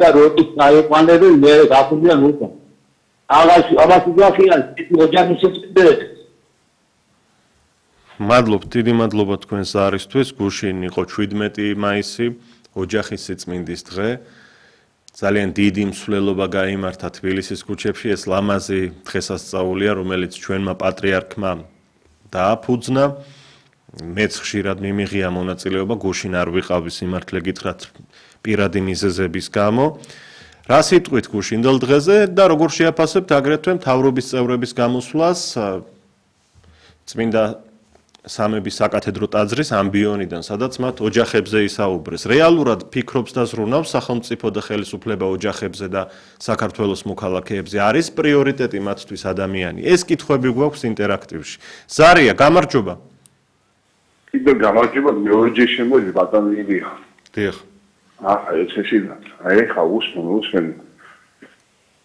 და როტის აიყვანები მე გაფუძნიან უკვე. Აბას გახიან ოჯახის შეწყვეტილება. მადლობ, დიდი მადლობა თქვენს ზარისთვის. გუშინ იყო 17 მაისი, ოჯახის სიწმინდის დღე. ძალიან დიდი მსვლელობა გაიმართა თბილისის ქუჩებში. ეს ლამაზი დღესასწაულია, რომელიც ჩვენმა პატრიარქმა დააფუძნა. მეც ხშირად მიმიღია მონაწილეობა, გუშინ არ ვიყავი სიმართლე გითხრათ პირადი მიზეზების გამო. რა სიტყვით გუშინდელ დღეზე და როგორ შეაფასებთ აგრეთვე მთავრობის წევრების გამოსვლას წმინდა სამების საკათედრო ტაძრის ამბიონიდან, სადაც მათ ოჯახებზე ისაუბრეს. რეალურად ფიქრობს და ზრუნავს სახელმწიფო და ხელისუფლება ოჯახებზე და საქართველოს მოქალაქეებზე. არის პრიორიტეტი მათთვის ადამიანი. ეს კითხვები გვაქვს ინტერაქტივში. ზარია, გამარჯობა. კიდევ გამარჯობა, მეორჯერ შემოდი ბატონო ილია. დიახ. ეს ისინა. ხა უსმენ.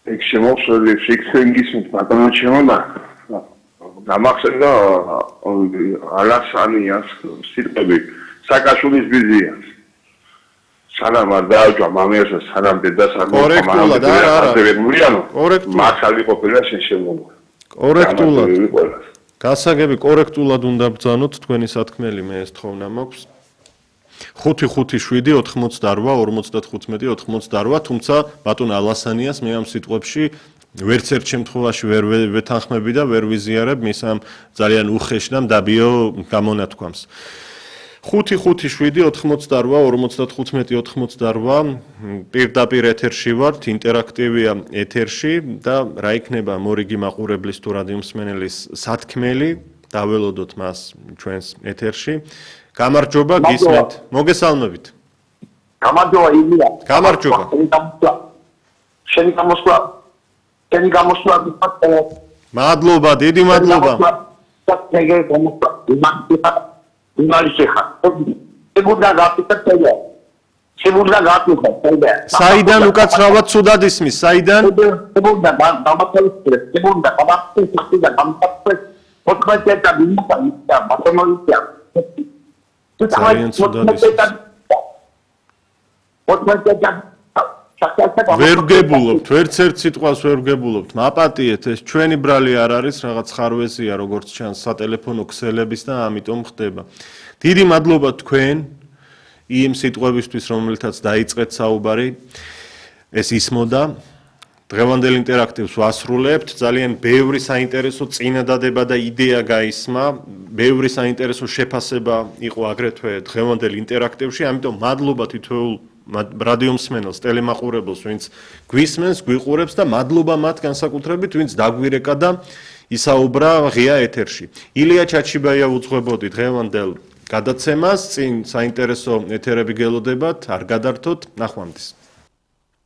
ეგ შემოსული ფიქსინგის ბატონო შემოდა. დამახსენდა ალასანიას სიტყვები საკაშულის ბიზიას. სანამ არ დააჯვა მამიას და სანამ დედას არ კორექტულად არა. მართალი ყოფილა შეშემოვა. კორექტულად. გასაგები კორექტულად უნდა ბრძანოთ თქვენი სათქმელი მე ეს თხოვნა მაქვს. 5-5-7 88 55 88 თუმცა ბატონ ალასანიას მე ამ სიტყვებში ვერც ერთ შემთხვევაში ვერ ვეთანხმები და ვერ ვიზიარებ მის ამ ძალიან უხეშ და მდაბიო გამონათქვამს. 5-5-7 88 88 პირდაპირ ეთერში ვართ, ინტერაქტივია ეთერში და რა იქნება მორიგი მაყურებლის თუ რადიო მსმენელის სათქმელი, დაველოდოთ მას ჩვენს ეთერში. გამარჯობა, გისმენთ. მოგესალმებით. გამარჯობა ილია. გამარჯობა. შენი გამოსვლა მადლობა, დიდი მადლობა. საიდან უკაცრავად ცუდად ისმის, საიდან? ძალიან ცუდად ისმის. ვერ ვგებულობთ, ვერც ერთ სიტყვას ვერ ვგებულობთ. მაპატიეთ, ეს ჩვენი ბრალი არ არის, რაღაც ხარვეზია, როგორც ჩანს სატელეფონო ქსელების და ამიტომ ხდება. დიდი მადლობა თქვენ იმ სიტყვებისთვის, რომელთაც დაიწყეთ საუბარი. ეს ისმოდა. დღევანდელ ინტერაქტივს ვასრულებთ. ძალიან ბევრი საინტერესო წინადადება და იდეა გაისმა. ბევრი საინტერესო შეფასება იყო აგრეთვე დღევანდელ ინტერაქტივში, ამიტომ მადლობა თითოეულ რადიო მსმენელს, ტელემაყურებელს, ვინც გვისმენს, გვიყურებს და მადლობა მათ განსაკუთრებით, ვინც დაგვირეკა და ისაუბრა ღია ეთერში. ილია ჩაჩიბაია უძღვებოდი დღევანდელ გადაცემას, წინ საინტერესო ეთერები გელოდებათ, არ გადართოთ, ნახვამდის.